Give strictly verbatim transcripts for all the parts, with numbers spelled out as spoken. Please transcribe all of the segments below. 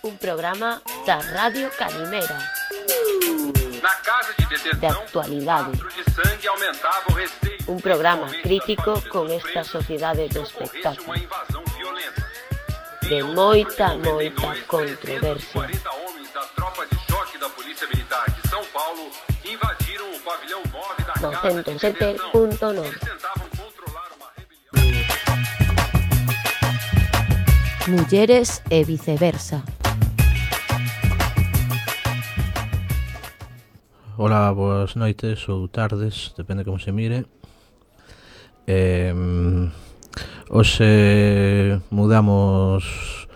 Un programa da Radio Calimera. Na casa de detenção, de actualidade. de sangue aumentava o receio. Un programa crítico con esta sociedade do espectáculo. Uma invasão violenta. De moita, moita controversia. quarenta homens da tropa de choque da Polícia Militar de São Paulo invadiram o pavilhão nove da casa de noventa e sete detenção. punto nove. Eles tentavam controlar uma rebelião. Mulleres e viceversa. Ola, boas noites ou tardes, depende como se mire. Eh, hoxe mudamos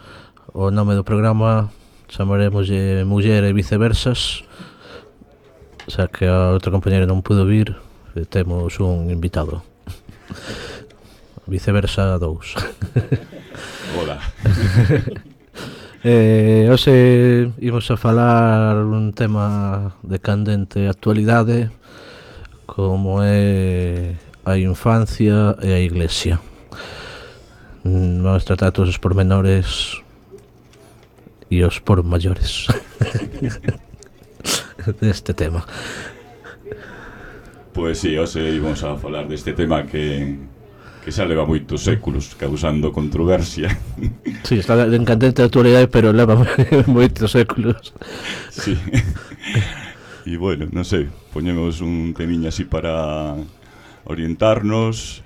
o nome do programa, chamaremoslle Muller e Viceversas, xa que a outra compañera non pudo vir, temos un invitado. Viceversa dous. Hola. Eh, hoxe imos a falar un tema de candente actualidade como é a infancia e a iglesia. Vamos tratar todos os pormenores e os por maiores deste tema. Pois si, hoxe íbamos a falar deste tema que que xa leva moitos séculos causando controversia. Si, sí, está en candente actualidade, pero leva moitos séculos. Si. E bueno, non sei, poñemos un temiño así para orientarnos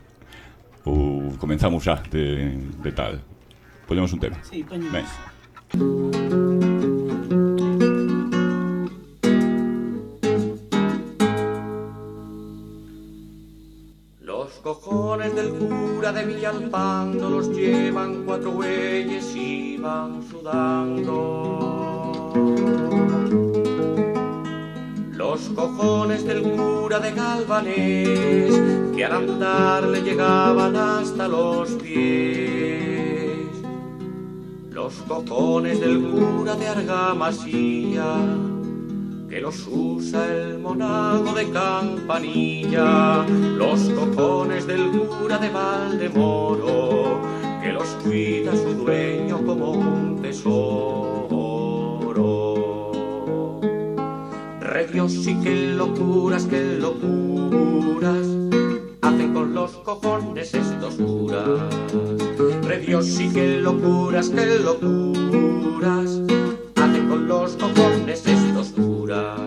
ou comenzamos xa de, de tal. Poñemos un tema. Sí, poñemos. Ben. Los cojones del cura de Villalpando los llevan cuatro bueyes y van sudando. Los cojones del cura de Galvanés, que al andar le llegaban hasta los pies. Los cojones del cura de Argamasilla, que los usa el monago de Campanilla. Los cojones del cura de Valdemoro, que los cuida su dueño como un tesoro. Re Dios, sí que locuras, que locuras hacen con los cojones estos curas. Re Dios, sí que locuras, que locuras hacen con los cojones estos curas.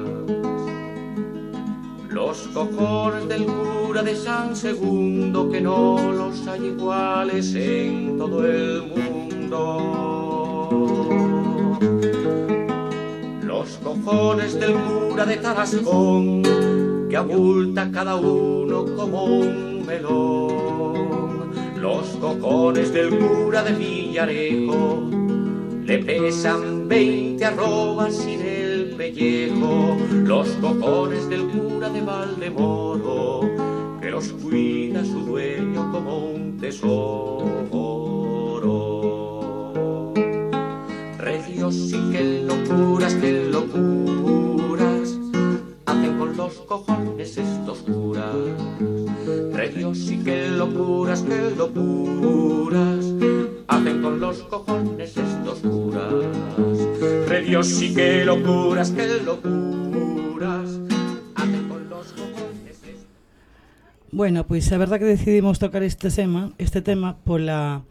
Los cojones del cura de San Segundo, que no los hay iguales en todo el mundo. Los cojones del cura de Tarascón, que abulta cada uno como un melón. Los cojones del cura de Villarejo le pesan veinte arrobas sin el pellejo. Los cojones del cura de Valdemoro, que los cuida su dueño como un tesoro. Re Dios, sí que locuras, que locuras hacen con los cojones estos curas. Re Dios, sí que locuras, que locuras hacen con los cojones estos curas. Re Dios, sí que locuras, que locuras hacen con los cojones estos. Bueno, pois pues, a verdad que decidimos tocar este tema, este tema pola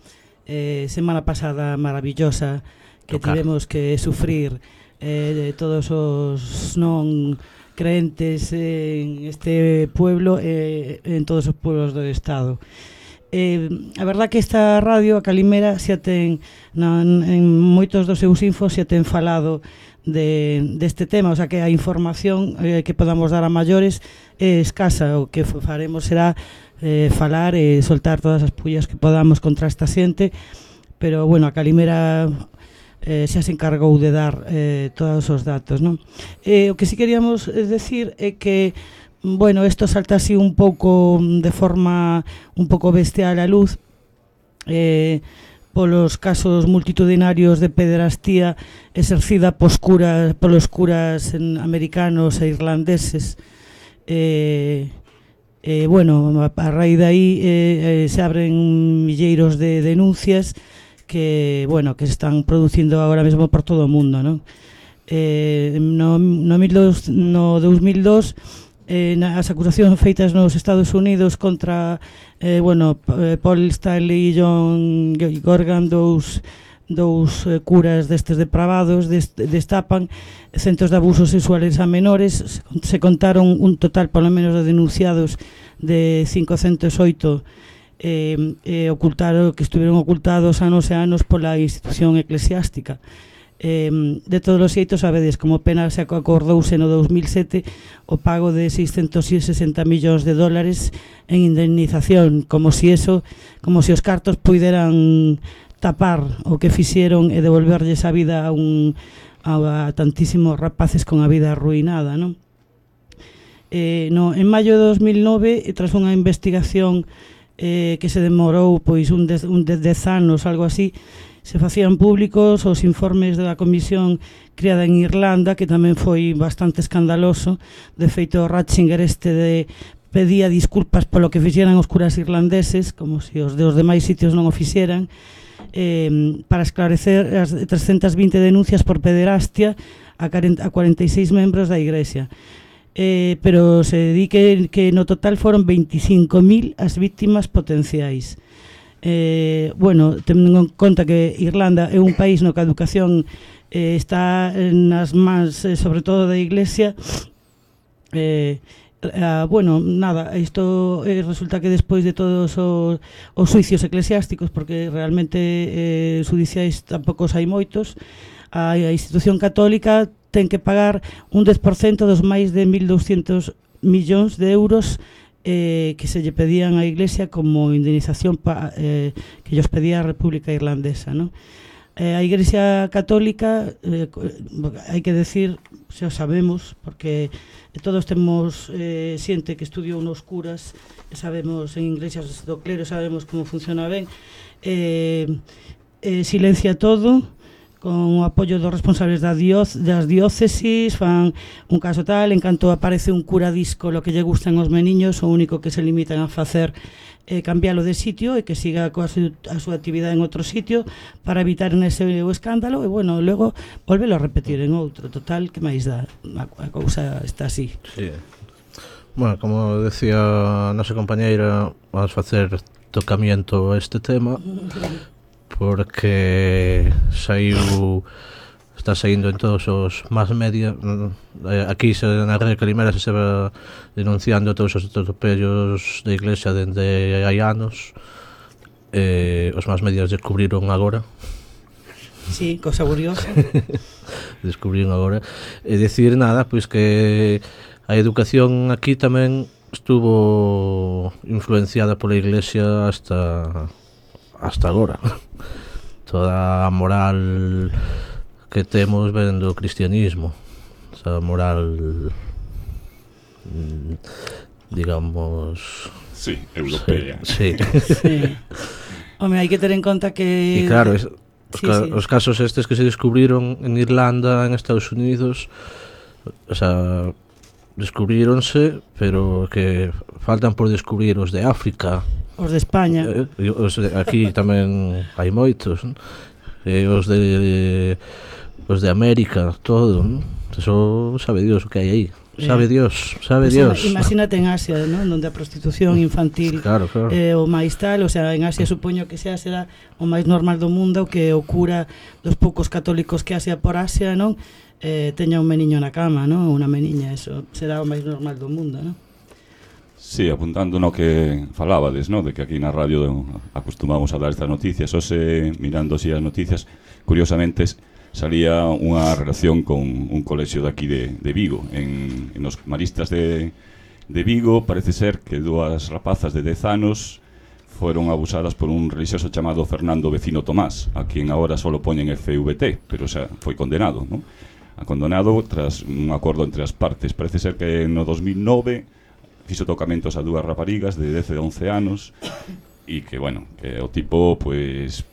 eh, semana pasada maravillosa que Tocar. tivemos que sufrir eh, de todos os non creentes en este pueblo e eh, en todos os pueblos do estado. Eh, a verdad que esta radio, a Calimera, xa ten na, en moitos dos seus infos xa ten falado de, deste tema, o sea que a información eh, que podamos dar a maiores é escasa. O que faremos será eh, falar e soltar todas as pullas que podamos contra esta xente, pero bueno, a Calimera eh, xa se encargou de dar eh, todos os datos, non? Eh, o que si queríamos decir é que bueno, esto salta así un pouco de forma un pouco bestial a luz eh, polos casos multitudinarios de pederastía exercida pos curas, polos curas americanos e irlandeses. Eh, eh, bueno, a raíz de aí eh, eh, se abren milleiros de denuncias que, bueno, que se están producindo agora mesmo por todo o mundo, non? Eh, no, no, mil dos, no dos mil dos, eh, as acusacións feitas nos Estados Unidos contra, eh, bueno, Paul Stanley e John Gorgan, dous dous eh, curas destes depravados, dest, destapan centos de abusos sexuales a menores. Se contaron un total, polo menos, de denunciados de quinhentos oito eh, eh, ocultaron, que estuvieron ocultados anos e anos pola institución eclesiástica. Eh, de todos os xeitos, sabedes, como pena se acordouse no dos mil sete o pago de seiscentos sesenta millóns de dólares en indemnización, como si eso, como si os cartos puideran tapar o que fixeron e devolverlles a vida a, un, a, a tantísimos rapaces con a vida arruinada, non? Eh, no, en maio de dos mil nove, tras unha investigación eh, que se demorou pois un dez, un dez, dez anos, algo así, se facían públicos os informes da comisión criada en Irlanda, que tamén foi bastante escandaloso. De feito, Ratzinger este de pedía disculpas polo que fixeran os curas irlandeses, como se os de os demais sitios non o fixeran, eh, para esclarecer as trescentas vinte denuncias por pederastia a cuarenta e seis membros da Igrexa. Eh, pero se di que, que no total foron veinticinco mil as víctimas potenciais. Eh, bueno, tendo en conta que Irlanda é un país no que a educación eh, está nas mans, eh, sobre todo da Iglesia, eh, Uh, bueno, nada, isto eh, resulta que despois de todos os, os suicios eclesiásticos, porque realmente eh, judiciais tampouco hai moitos, a, a institución católica ten que pagar un dez por cento dos máis de mil douscentos millóns de euros eh, que se lle pedían á Iglesia como indemnización pa, eh, que llos pedía a República Irlandesa, non? Eh, a Igrexa Católica, eh, hai que decir, xa sabemos, porque todos temos eh, xente que estudiou nos curas, sabemos en iglesias do clero, sabemos como funciona ben, eh, eh, silencia todo, con o apoio dos responsables da dioc das diócesis, fan un caso tal, en canto aparece un cura disco lo que lle gustan aos meniños, o único que se limitan a facer é eh, cambialo de sitio e que siga coa su, a súa actividade en outro sitio para evitar ese o escándalo, e bueno, logo volvelo a repetir en outro. Total, que máis dá? A, a cousa está así. Sí. Bueno, como decía a nosa compañeira, vamos facer tocamiento a este tema porque saiu, está saindo en todos os más media. Aquí se, na Rede Calimera se va denunciando todos os atropellos da Iglesia dende hai anos. Eh, os más medios descubriron agora. Sí, cosa curiosa. Descubriron agora. E dicir nada, pois que a educación aquí tamén estuvo influenciada pola Iglesia hasta hasta agora. Toda a moral que temos ven do cristianismo, esa moral, digamos, sí, europea. Sí. Sí. Home, hai que ter en conta que... E claro, es, os, sí, ca sí. os casos estes que se descubriron en Irlanda, en Estados Unidos, o sea, descubríronse, pero que faltan por descubrir os de África, os de España, eh, os de, aquí tamén hai moitos, non? E os de os de América, todo, non? Eso sabe Dios o que hai aí. Sabe Dios, sabe pues Dios. Imagínate en Asia, ¿no? Donde a prostitución infantil claro, claro. Eh, o máis tal, o sea, en Asia supoño que sea será o máis normal do mundo, que o cura dos poucos católicos que Asia por Asia, non? Eh, teña un meniño na cama, non? Unha meniña, eso será o máis normal do mundo, non? Sí, apuntando no que falábades, ¿no? De que aquí na radio acostumamos a dar estas noticias, ose mirando así as noticias, curiosamente salía unha relación con un colexio de aquí de, de Vigo. En, en os maristas de, de Vigo parece ser que dúas rapazas de dez anos foron abusadas por un religioso chamado Fernando Vecino Tomás, a quien agora solo poñen F V T, pero o sea, foi condenado, ¿no? A condenado tras un acordo entre as partes. Parece ser que no dos mil nove fixo tocamentos a dúas raparigas de dez e once anos e que, bueno, que o tipo, pois,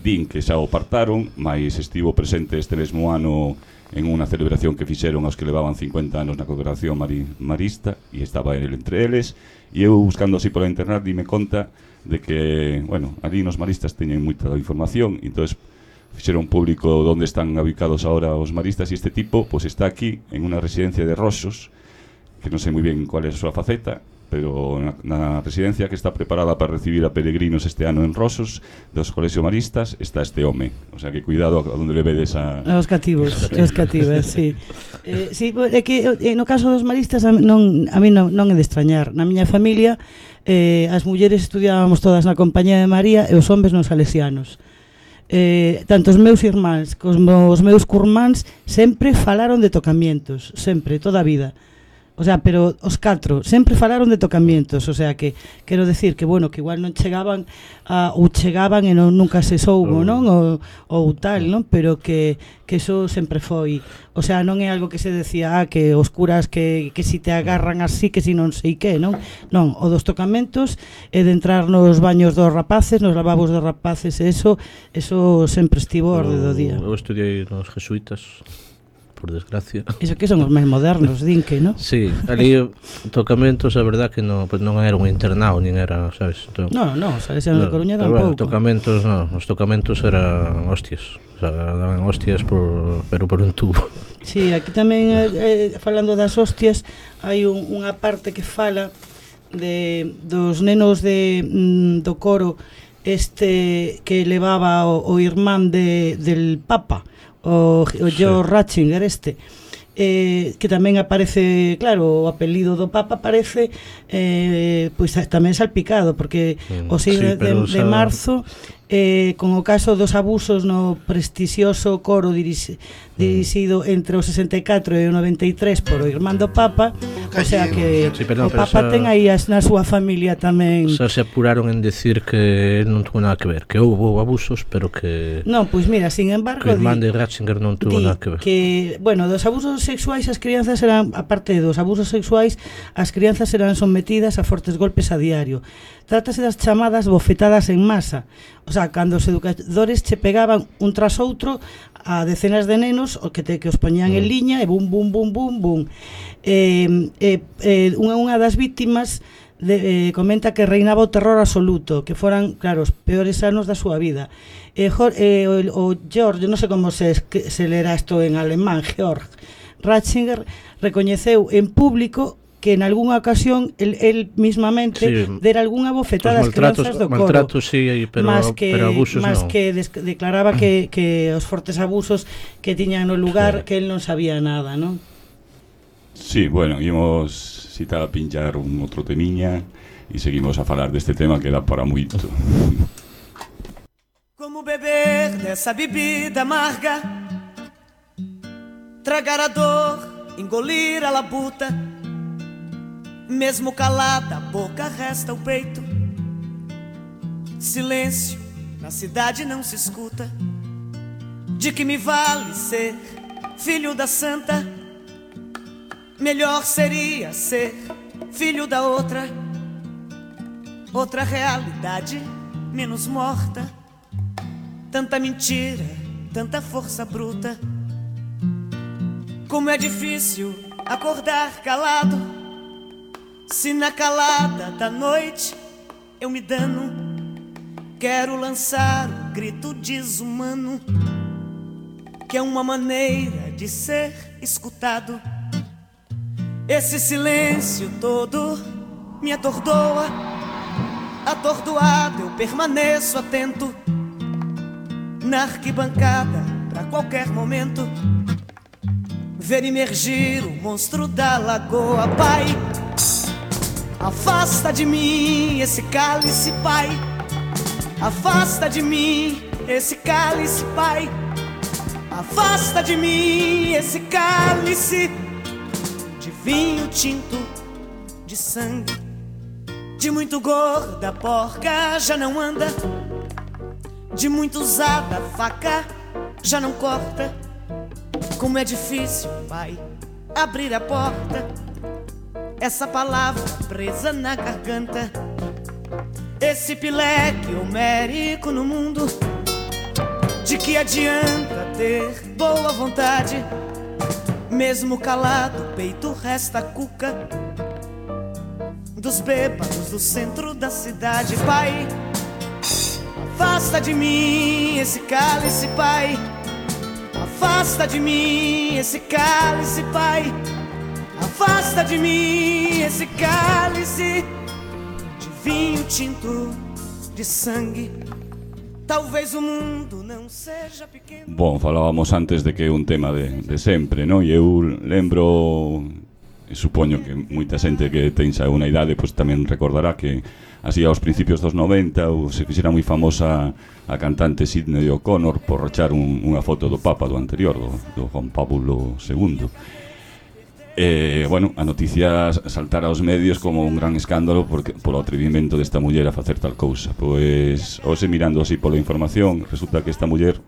din que xa o apartaron, mas estivo presente este mesmo ano en unha celebración que fixeron aos que levaban cincuenta anos na congregación mari, marista, e estaba ele entre eles, e eu buscando así pola internet dime conta de que, bueno, ali nos maristas teñen moita información, e entón fixeron público onde están ubicados ahora os maristas, e este tipo pues está aquí en unha residencia de Roxos, que non sei moi ben cual é a súa faceta, pero na, na residencia que está preparada para recibir a peregrinos este ano en Rosos dos colexios maristas está este home, o sea que cuidado a onde le vedes a... Os cativos, os cativos, sí. Eh, sí, é que eh, no caso dos maristas a, non, a mí non, non é de extrañar. Na miña familia eh, as mulleres estudiábamos todas na Compañía de María e os homes nos salesianos. Eh, tanto os meus irmáns como os meus curmáns sempre falaron de tocamientos, sempre, toda a vida. O sea, pero os catro sempre falaron de tocamientos, o sea que quero decir que bueno, que igual non chegaban a, ou chegaban e non, nunca se soubo, non? Ou, ou tal, non? Pero que, que eso sempre foi, o sea, non é algo que se decía, ah, que os curas que, que si te agarran así, que si non sei que, non? Non, o dos tocamentos é de entrar nos baños dos rapaces, nos lavabos dos rapaces, e eso, eso sempre estivo orde do día. Eu estudiei nos jesuitas, por desgracia. Iso que son os máis modernos, din que, non? Sí, ali tocamentos, a verdad que non, pues non era un internado, nin era, sabes? Entón, no, no, Salesianos no, de Coruña tampouco. Bueno, tocamentos, non, os tocamentos eran hostias, o sea, daban hostias por, pero por un tubo. Sí, aquí tamén, eh, falando das hostias, hai un, unha parte que fala de dos nenos de, mm, do coro este que levaba o, o irmán de, del Papa, o, o George sí. Ratzinger este, eh, que tamén aparece, claro, o apelido do Papa aparece eh, pois tamén salpicado, porque mm, o seis sí, de, de marzo eh, con o caso dos abusos no prestixioso coro dirixi, dirixido entre o sesenta e catro e o noventa e tres por o irmán do Papa, o sea que sí, perdón, o Papa ten aí as, na súa familia tamén. Xa se apuraron en decir que non tuvo nada que ver, que houve abusos, pero que... Non, pois mira, sin embargo... Que o irmán de Ratzinger non tuvo di, nada que ver. Que, bueno, dos abusos sexuais as crianzas eran, aparte dos abusos sexuais, as crianzas eran sometidas a fortes golpes a diario. Trátase das chamadas bofetadas en masa. O sea, cando os educadores che pegaban un tras outro a decenas de nenos o que te que os poñían mm. en liña e bum, bum, bum, bum, bum. Eh, eh, eh, unha, unha das víctimas de, eh, comenta que reinaba o terror absoluto, que foran, claro, os peores anos da súa vida. Eh, Jor, eh, o, o George, non sei como se, se lerá isto en alemán, Georg Ratzinger, recoñeceu en público que en algunha ocasión el, el mismamente sí, dera algunha bofetada ás crianzas do coro. Maltratos, sí, pero, más que, pero abusos más non. que des, declaraba que, que os fortes abusos que tiñan no lugar, sí. que él non sabía nada, non? Sí, bueno, íamos citar a pinchar un outro temiña e seguimos a falar deste tema que dá para moito. Como beber dessa bebida amarga, tragar a dor, engolir a labuta, mesmo calada a boca resta o peito. Silêncio, na cidade não se escuta. De que me vale ser filho da santa? Melhor seria ser filho da outra, outra realidade menos morta. Tanta mentira, tanta força bruta. Como é difícil acordar calado, se na calada da noite eu me dano. Quero lançar um grito desumano, que é uma maneira de ser escutado. Esse silêncio todo me atordoa. Atordoado eu permaneço atento na arquibancada pra qualquer momento ver emergir o monstro da lagoa. Pai, afasta de mim esse cálice, pai. Afasta de mim esse cálice, pai. Afasta de mim esse cálice de vinho tinto, de sangue, de muito gorda, porca já não anda, de muito usada, faca já não corta. Como é difícil, pai, abrir a porta, essa palavra presa na garganta. Esse pileque homérico no mundo, de que adianta ter boa vontade? Mesmo calado, o peito resta cuca. dos bêbados do centro da cidade. Pai, afasta de mim esse cálice, Pai. Afasta de mim esse cálice, Pai. Afasta de mim esse cálice de vinho tinto de sangue. Talvez o mundo não seja pequeno. Bom, falábamos antes de que é un tema de, de sempre, non? E eu lembro, e supoño que moita xente que ten xa unha idade pois tamén recordará que así aos principios dos noventa ou se fixera moi famosa a cantante Sidney O'Connor por rachar un, unha foto do Papa do anterior, do, do Juan Pablo segundo. E, bueno, a noticia saltara aos medios como un gran escándalo porque, polo atrevimento desta muller a facer tal cousa. Pois, hoxe mirando así pola información, resulta que esta muller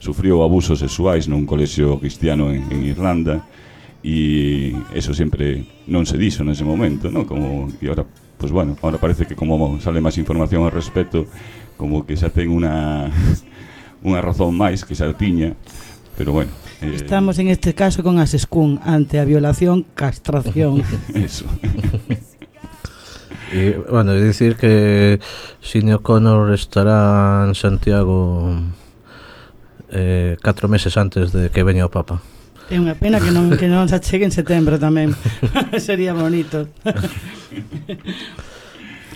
sufriu abusos sexuais nun colexio cristiano en, en Irlanda e eso sempre non se dixo nese momento, non? Como, e ahora, pois bueno, ahora parece que como sale máis información ao respecto, como que xa ten unha unha razón máis que xa tiña, pero bueno. Eh, Estamos en este caso con as Escún ante a violación, castración. Eso. E, bueno, é dicir que Sidney O'Connor estará en Santiago eh, catro meses antes de que veña o Papa. É unha pena que non, que non se chegue en setembro tamén. Sería bonito.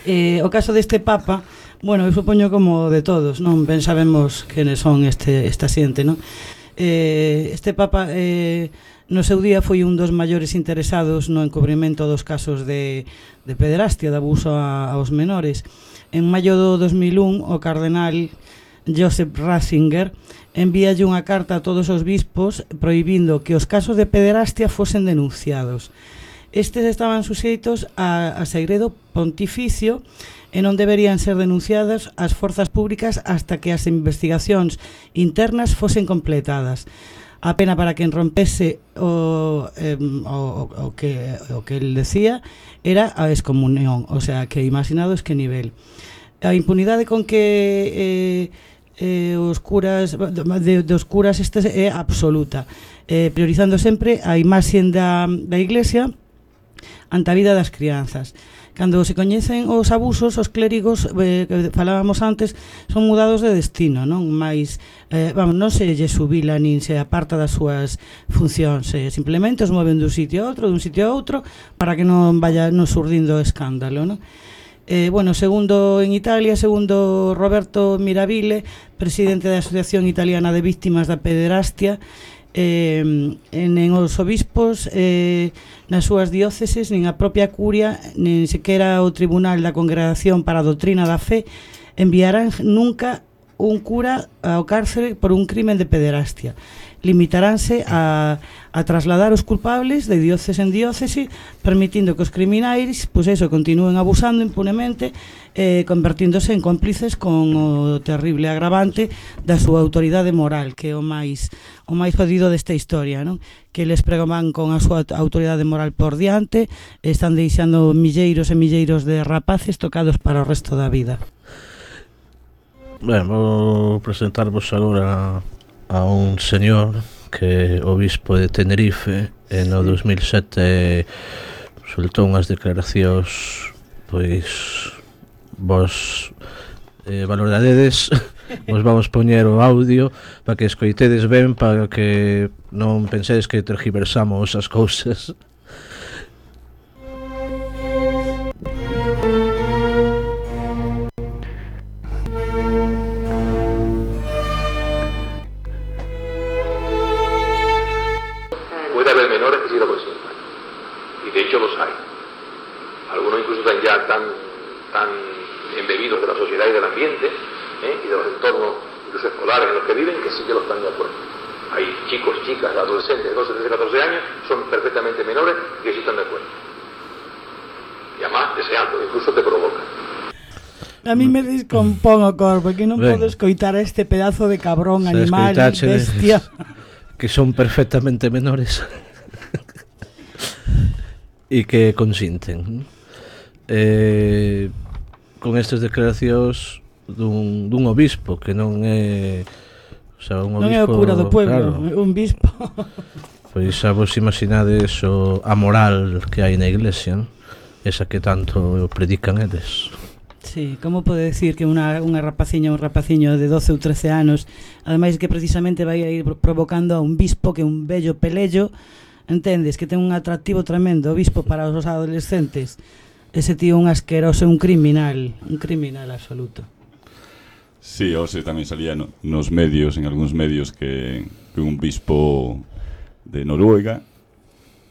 eh, o caso deste Papa, bueno, eu supoño como de todos, non ben sabemos quenes son este, esta xente, non? Eh, este Papa eh, no seu día foi un dos maiores interesados no encubrimento dos casos de, de pederastia, de abuso a, aos menores. En maio do dos mil un, o cardenal Joseph Ratzinger envíalle unha carta a todos os bispos prohibindo que os casos de pederastia fosen denunciados. Estes estaban suxeitos a, a segredo pontificio e non deberían ser denunciadas ás forzas públicas hasta que as investigacións internas fosen completadas. A pena para quen rompese o, eh, o, o, que, o que el decía era a excomunión, o sea, que imaginados que nivel. A impunidade con que eh, eh, os curas de, dos curas este é absoluta, eh, priorizando sempre a imaxe da, da Iglesia ante a vida das crianzas. Cando se coñecen os abusos, os clérigos, eh, que falábamos antes, son mudados de destino, non? Mais, eh, vamos, non se lle subila nin se aparta das súas funcións, eh, simplemente os moven dun sitio a outro, dun sitio a outro, para que non vaya non surdindo escándalo, non? Eh, bueno, segundo en Italia, segundo Roberto Mirabile, presidente da Asociación Italiana de Víctimas da Pederastia, eh, en, en os obispos eh, nas súas dióceses, nin a propia curia, nin sequera o Tribunal da Congregación para a Doutrina da Fe enviarán nunca un cura ao cárcere por un crimen de pederastia. Limitaránse a, a trasladar os culpables de diócese en diócese, permitindo que os criminais, pois eso, continúen abusando impunemente, eh, convertíndose en cómplices con o terrible agravante da súa autoridade moral, que é o máis o máis jodido desta historia, non? Que les pregoman con a súa autoridade moral por diante, están deixando milleiros e milleiros de rapaces tocados para o resto da vida. Ben, vou presentarvos agora a un señor que é obispo de Tenerife e no dos mil sete soltou unhas declaracións pois vos eh, valoradedes. Vos vamos poñer o audio para que escoitedes ben, para que non pensedes que tergiversamos as cousas. Puede haber menores que sí lo consientan, y de hecho los hay. Algunos incluso están ya tan, tan embebidos de la sociedad y del ambiente, ¿eh? y de los entornos incluso escolares en los que viven, que sí que lo están de acuerdo. Hay chicos, chicas, adolescentes de doce, trece, catorce años, son perfectamente menores que sí están de acuerdo. Y además deseando, incluso te provoca. A mí me descompón o corpo, que non podo escoitar a este pedazo de cabrón, animal, bestia. Que son perfectamente menores e que consinten. Eh, con estas declaracións dun, dun obispo que non é, o sea, un obispo, non é o cura do pueblo, claro, un bispo. Pois xa vos imaginades o a moral que hai na iglesia, non? esa que tanto predican eles. Sí, como pode decir que unha, unha rapaciña, un rapaciño de doce ou trece anos, ademais que precisamente vai a ir provocando a un bispo que é un bello pelello, entendes, que ten un atractivo tremendo, o bispo para os adolescentes, ese tío un asqueroso, un criminal, un criminal absoluto. Sí, hoxe tamén salía no, nos medios, en algúns medios, que, que un bispo de Noruega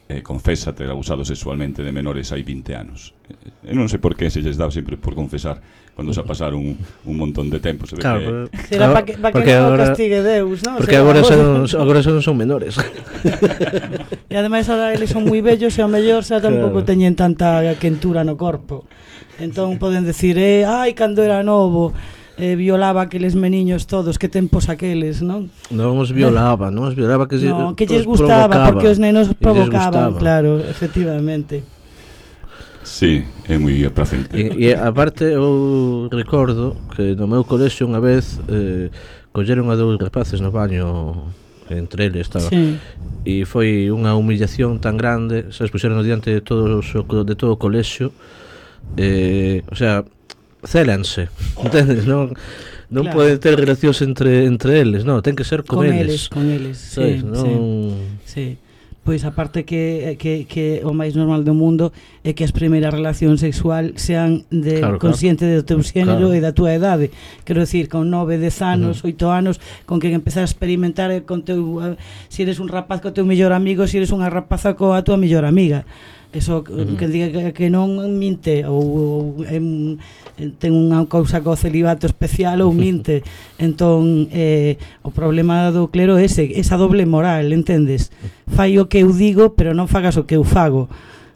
eh, confesa ter abusado sexualmente de menores hai vinte anos. Eu non sei por que se lles dá sempre por confesar cando se pasaron un, un montón de tempo. Se ve claro, que... Será para que, pa que non agora, castigue Deus, ¿no? Porque o sea, agora, son, agora son, son menores. E ademais agora eles son moi bellos e ao mellor xa tampouco claro. teñen tanta quentura no corpo. Entón poden decir, eh, ai, cando era novo eh, violaba aqueles meniños todos, que tempos aqueles, non? Non os violaba, non os violaba, que, no, que lles gustaba, provocaba, porque os nenos provocaban, claro, efectivamente. Sí, é moi aplacente. E, e aparte eu recordo que no meu colexio unha vez eh, colleron a dous rapaces no baño, entre eles estaba, sí. E foi unha humillación tan grande, se expuxeron diante de todo, de todo o colexio, eh, o sea, célanse, entendes? Non, non claro. Pode ter relacións entre entre eles, non, ten que ser con, con eles. eles, con eles, sí, non... sí, sí. Pois aparte que, que, que o máis normal do mundo é que as primeiras relacións sexual sean de claro, consciente claro. do teu xénero claro. E da túa idade. Quero decir, con nove, dez anos, uh-huh. oito anos, con que empezar a experimentar con teu, uh, si eres un rapaz co teu mellor amigo, si eres unha rapaza coa tua mellor amiga. Eso uh-huh. que diga que, que non minte ou, ou em, ten unha cousa co celibato especial ou minte. Entón eh, o problema do clero é ese, esa doble moral, entendes? Fai o que eu digo, pero non fagas o que eu fago,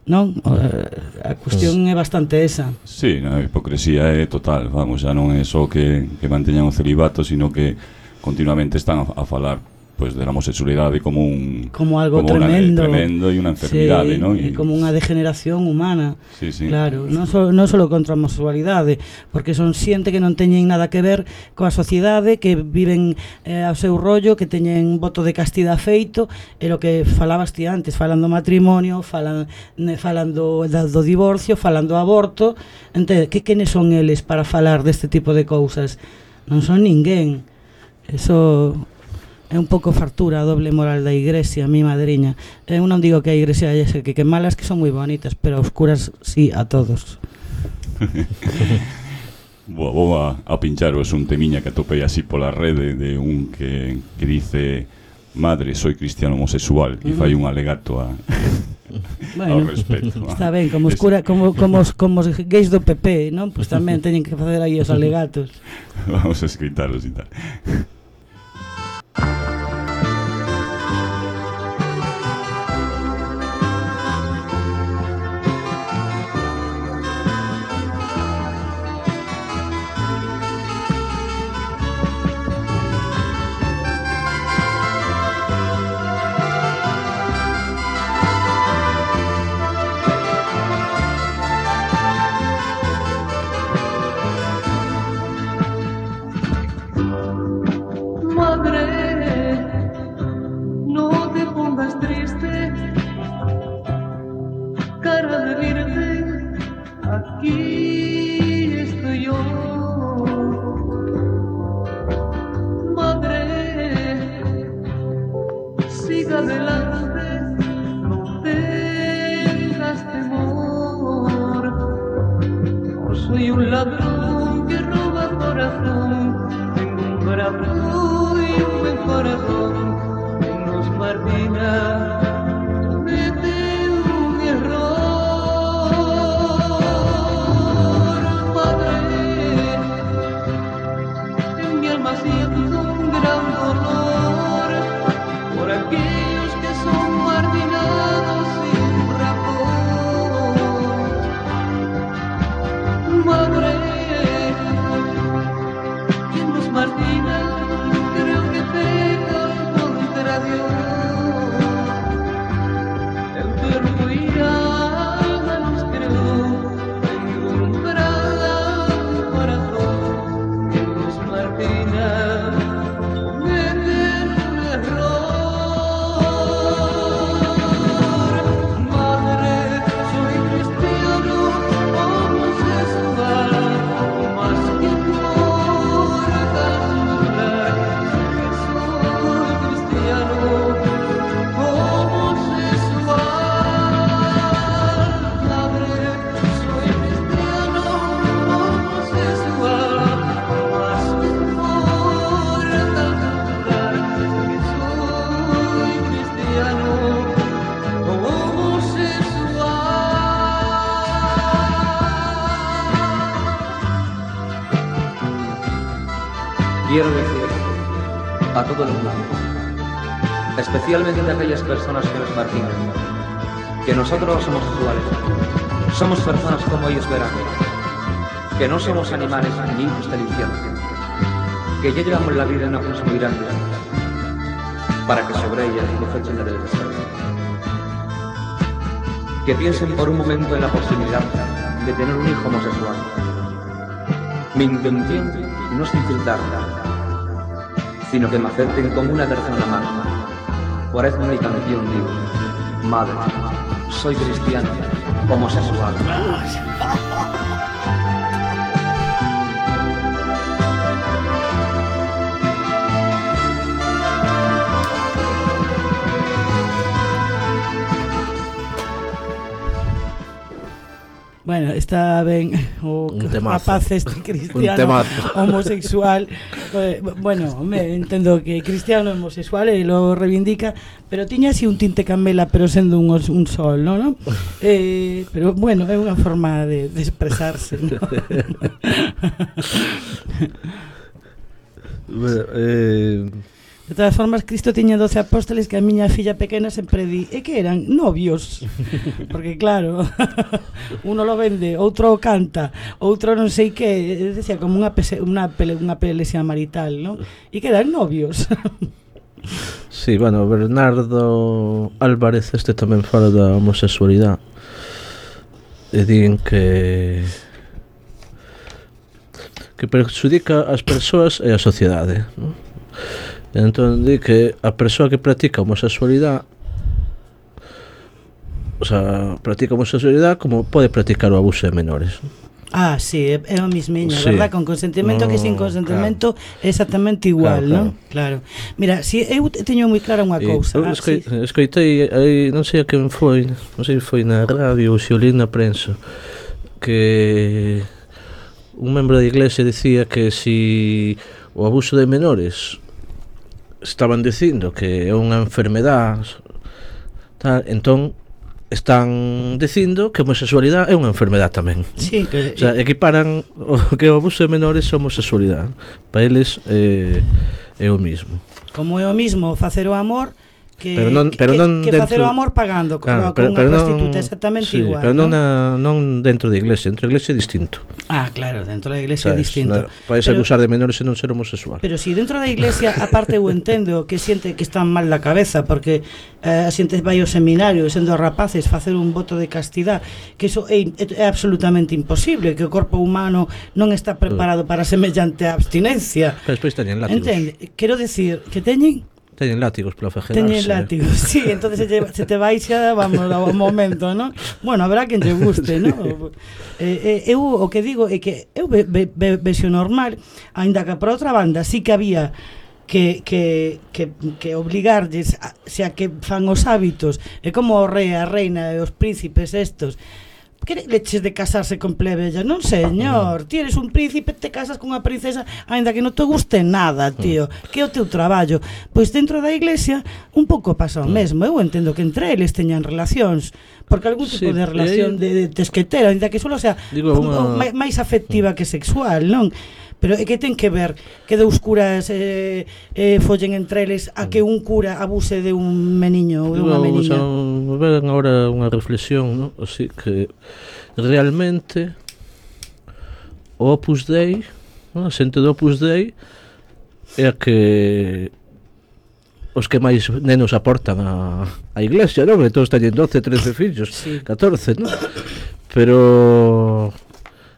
non? A cuestión é bastante esa. Sí, a hipocresía é total, vamos, xa non é só que, que manteñan o celibato, sino que continuamente están a, a falar pues de la homosexualidade como un como algo como tremendo, una, tremendo e unha enfermidade, sí, ¿no? Y como unha degeneración humana. Sí, sí. Claro, non só non só contra a homosexualidade, porque son xente que non teñen nada que ver coa sociedade, que viven eh, ao seu rollo, que teñen voto de castidade feito, e lo que falabas ti antes, falando matrimonio, falan falan do, do divorcio, falando aborto, entende, que quenes son eles para falar deste tipo de cousas? Non son ninguén. Eso é un pouco fartura a doble moral da igrexa, mi madriña. Eu non digo que a igrexa é que, que malas, que son moi bonitas, pero oscuras sí a todos. Boa, vou a, a pincharos un temiña que atopei así pola rede de un que, que dice: madre, soy cristiano homosexual, e fai un alegato a bueno, ao respeto. Está ben, como oscura, como, como, os, como os gays do P P, non? Pois pues tamén teñen que facer aí os alegatos. Vamos a escritaros e tal. Martina, creo que peca contra Dios. quiero decir a todo el mundo, especialmente a aquellas personas que nos marginan, que nosotros somos iguales, somos personas como ellos verán, que no somos animales ni hijos del infierno, que ya llevamos la vida en una cruz muy grande, para que sobre ella nos echen la del deseo. Que piensen por un momento en la posibilidad de tener un hijo homosexual. Mi intención no es infiltrarla, sino que me acepten como una persona más. Por eso en mi canción digo, madre, soy cristiano, homosexual. Bueno, está ben o rapaz este cristiano homosexual. eh, Bueno, me entendo que cristiano homosexual e lo reivindica, pero tiña así un tinte camela, pero sendo un, un sol, non? ¿no? Eh, pero bueno, é unha forma de, de expresarse, ¿no? Bueno, eh... De todas formas, Cristo tiña doce apóstoles que a miña filla pequena sempre di e que eran novios, porque claro, uno lo vende, outro canta, outro non sei que, decía como unha pese, unha, pele, unha pelexia marital, non? E que eran novios. Sí, bueno, Bernardo Álvarez este tamén fala da homosexualidade e din que que perxudica as persoas e a sociedade, non? Entón di que a persoa que practica homosexualidade, o sea, practica homosexualidade como pode practicar o abuso de menores. Ah, sí, é, é o mismiño, sí. Verdad? Con consentimento no, que sin consentimento claro. É exactamente igual, claro, non? Claro. Mira, si eu teño moi clara unha cousa. Ah, escoi, sí. Escoitei aí, non sei a quen foi, non sei se foi na radio ou se o li na prensa, que un membro da iglesia dicía que si o abuso de menores estaban dicindo que é unha enfermedade tal, entón están dicindo que a homosexualidade é unha enfermedade tamén. Sí, que, o sea, equiparan o que o abuso de menores a homosexualidade. Para eles é, é o mismo. Como é o mismo facer o amor que, pero non, pero que, non que dentro, facer o amor pagando claro, con, pero, con unha prostituta, exactamente sí, igual. Pero non, ¿no? Na, non dentro da iglesia, dentro da iglesia é distinto. Ah, claro, dentro da iglesia é distinto. No, podes acusar de menores e non ser homosexual. Pero si dentro da iglesia, aparte eu entendo que xente que está mal da cabeza, porque eh, a xente vai ao seminario sendo rapaces facer un voto de castidade, que iso é, é absolutamente imposible, que o corpo humano non está preparado para semellante abstinencia. Pero despois teñen látigos. Entende? Quero decir que teñen Teñen látigos para fajelarse. Teñen látigos, sí, entonces se te, se te baixa, vamos, ao momento, ¿no? Bueno, habrá quen lle guste, ¿no? Eh, eh, eu o que digo é que eu ve, ve, ve, vexo normal, aínda que por outra banda sí que había que, que, que, que obligarlles a, xa que fan os hábitos, é como o rei, a reina e os príncipes estos. Que leches de casarse con plebeyas? Non, señor, ti eres un príncipe, te casas con unha princesa, aínda que non te guste nada, tío, que é o teu traballo. Pois dentro da iglesia un pouco pasa o mesmo. Eu entendo que entre eles teñan relacións, porque algún tipo sí, de relación de, de tesquetera, aínda que solo sea digo, una... máis afectiva que sexual, non? Pero é que ten que ver que dous curas eh, eh, follen entre eles a que un cura abuse de un meniño ou de unha meniña. Vamos a ver agora unha reflexión, ¿no? Así que realmente o Opus Dei, ¿no? A xente do Opus Dei é a que os que máis nenos aportan a, a iglesia, non? Que todos teñen doce, trece fillos, sí. catorce, non? Pero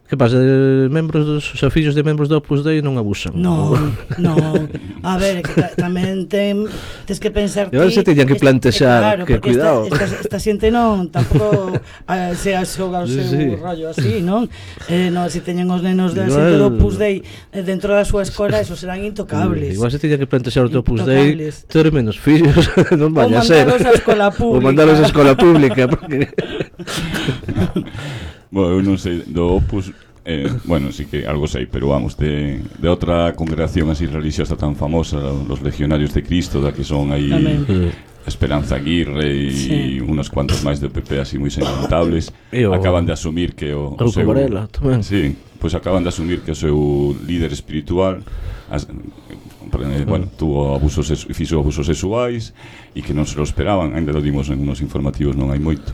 que pasa? De membros dos, os fillos de membros do Opus Dei non abusan. Non, non. A ver, que ta, tamén ten, tes que pensar ti. E se teñan que plantexar, claro, que cuidado. Esta, esta, esta xente non, tampouco uh, se xoga o seu sí, sí. rollo así, non? Eh, non, se teñen os nenos da xente do Opus Dei eh, dentro da súa escola, esos serán intocables. Igual se teñan que plantexar o teu Opus Dei, ter menos fillos, non vaya a ser. Ou mandalos a escola pública. Ou mandalos a escola pública, porque... Bueno, eu non sei, do Opus, eh, bueno, sí que algo sei, pero vamos, de, de outra congregación así religiosa tan famosa, los Legionarios de Cristo, da que son aí Esperanza Aguirre e sí. unos cuantos máis do P P así moi salientables acaban de asumir que o, o seu Varela, tamén. Sí, pois acaban de asumir que o seu líder espiritual as, eh, bueno, tuvo abusos fixo abusos sexuais e que non se lo esperaban, ainda lo dimos en unos informativos non hai moito.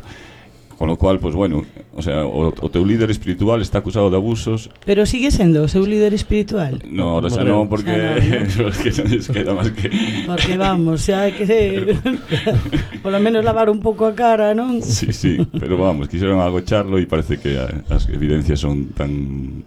Con lo cual, pues bueno, o sea, o, o teu líder espiritual está acusado de abusos. Pero sigue sendo o seu líder espiritual? No, ahora xa non, porque no, no. Es que non les queda máis que... Porque vamos, xa hai que ser... Por lo menos lavar un pouco a cara, non? Sí, sí, pero vamos, quixeron agocharlo e parece que as evidencias son tan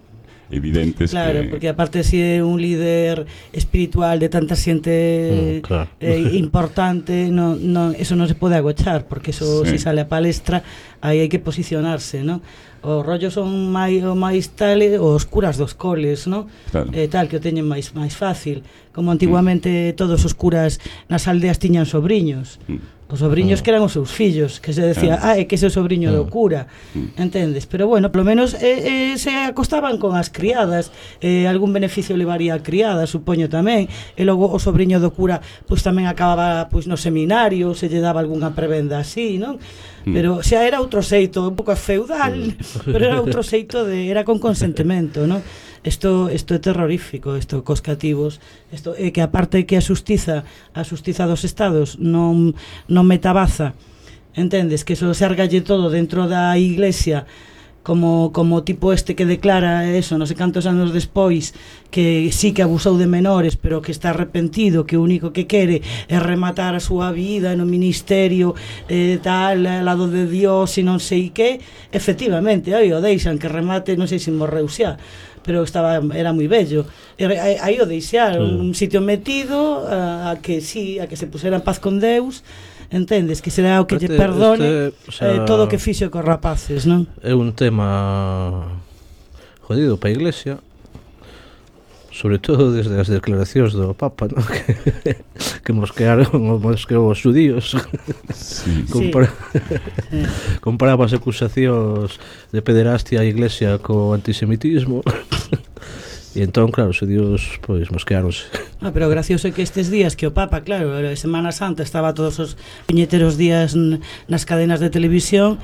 evidentes. Claro, que... porque aparte si é un líder espiritual de tanta xente mm, claro. eh, importante, no, no, eso non se pode agochar, porque eso sí. Si sale a palestra, aí hai que posicionarse, ¿no? Os rollos son máis o máis tales, os curas dos coles, ¿no? Claro. Eh, tal, que o teñen máis máis fácil, como antiguamente mm. todos os curas nas aldeas tiñan sobriños. Mm. Os sobriños que eran os seus fillos, que se decía, ah, é que ese é o sobriño do cura, entendes? Pero bueno, polo menos eh, eh, se acostaban con as criadas, eh, algún beneficio levaría a criada, supoño tamén, e logo o sobriño do cura pois tamén acababa pois no seminario, se lle daba algunha prebenda así, non? Pero xa era outro xeito, un pouco feudal, pero era outro xeito de era con consentimento, non? Isto isto é terrorífico, isto cos cativos, isto é que aparte que a xustiza, a xustiza dos estados non non metabaza, entendes, que eso se argalle todo dentro da iglesia, como como tipo este que declara eso, non sei cantos anos despois, que sí que abusou de menores, pero que está arrepentido, que o único que quere é rematar a súa vida no ministerio eh, tal, ao lado de Dios e non sei que, efectivamente, aí o deixan que remate, non sei se morreu xa, pero estaba era moi bello. Aí o deixaron, un sitio metido a, a que sí, a que se pusera en paz con Deus, entendes, que será o que lle perdone este, o sea, eh, todo o que fixo cos rapaces, non? É un tema jodido para a Iglesia, sobre todo desde as declaracións do Papa, non? Que, que mosquearon, mosqueou os judíos. Sí. Compara sí. Comparaba as acusacións de pederastia a Iglesia co antisemitismo. E entón, claro, os judíos, pois, mosqueáronse. Ah, pero gracioso é que estes días que o Papa, claro, a Semana Santa estaba todos os puñeteros días nas cadenas de televisión,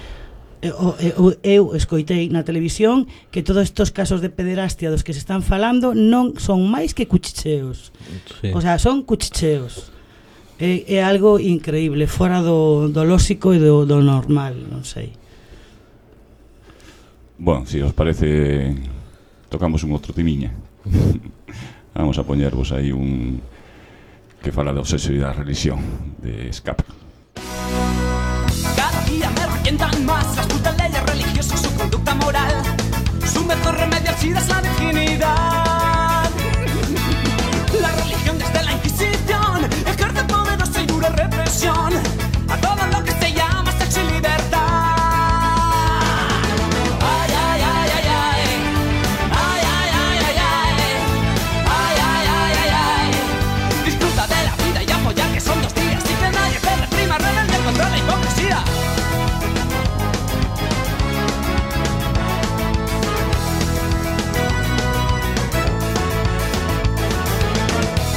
eu, eu, eu escoitei na televisión que todos estes casos de pederastia dos que se están falando non son máis que cuchicheos. Sí. O sea, son cuchicheos. É, é algo increíble, fora do, do lóxico e do, do normal, non sei. Bueno, si os parece, tocamos un outro timiña. Vamos a poñervos aí un que fala da obsesión e da religión de Escapa. Cada día me revientan más las putas leyes religiosas, su conducta moral, su mejor remedio sí es la virginidad. La religión desde la Inquisición ejerce poderosa y dura represión a todo lo que se llama sexo y libertad. Ay, ay, ay, ay, ay. Ay, ay, ay, ay, ay. Ay, ay, ay, ay, ay. Disfruta de la vida y apoya que son dos días y que nadie te reprima, rebelde contra la hipocresía.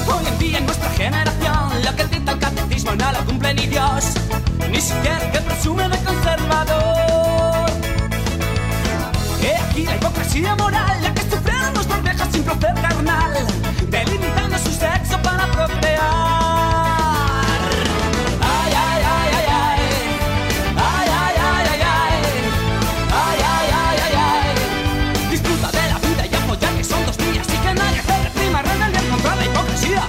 Hoy en día en nuestra generación lo que dicta el catecismo no lo cumple ni Dios, ni siquiera que presume de conservador. He aquí la hipocresía moral, la que sufrieron nuestras viejas sin placer carnal, delimitando su sexo para procrear. Ay, ay, ay, ay, ay. Ay, ay, ay, ay, ay. Ay, ay, ay, ay, ay. Disfruta de la vida y apoya que son dos días y que nadie te reprima, rebelde contra la hipocresía.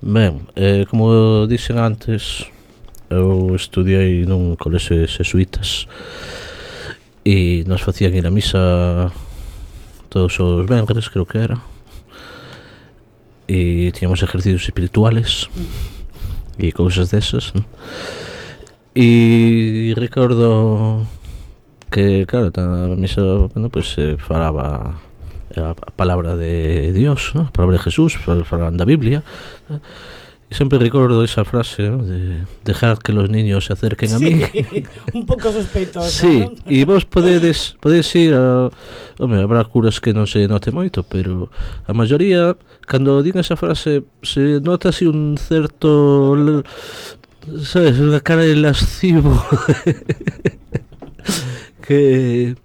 Ben, eh, como dixen antes, eu estudiei nun colexio de xesuítas e nos facían ir a misa todos os venres, creo que era, e tiñamos ejercicios espirituales e cousas desas, ¿no? E recordo que, claro, na misa, bueno, pues se falaba a palabra de Dios, ¿no? A palabra de Jesús, falaban da Biblia, ¿no? Y siempre recuerdo esa frase, ¿no? De dejar que los niños se acerquen a sí, mí. Un pouco sospeitosa, sí, ¿no? E vos podedes, podedes ir a... Home, habrá curas que non se note moito, pero a maioría, cando din esa frase, se nota así un certo... Sabes, unha cara de lascivo. Que...